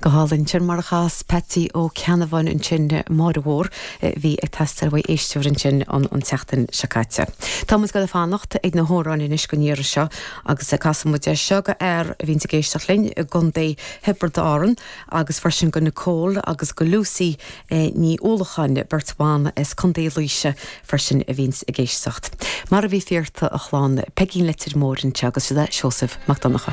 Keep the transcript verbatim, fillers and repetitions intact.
Go hálainn sin mar a chas Patsy Ó Ceannabháin ansin Máire Mhór bhí ag teastáil uaidh éisteoir ansin an an tseachtain seo caite. Tá muid ag fanacht ag na hamhráin anois don iarraidh seo agus casfaidh muid é seo go fhear a bhíonn ag éisteacht linn i gContae Thiobraid Árann agus freisin go Nicole agus go Lucy eh, Ní Uallacháin beirt bhan as Contae Laoise freisin a bhíonn ag éisteacht. Mar a bhí fíorta a chlann Peigín Leitir Móir anseo agus sé Seosamh Mac Donncha.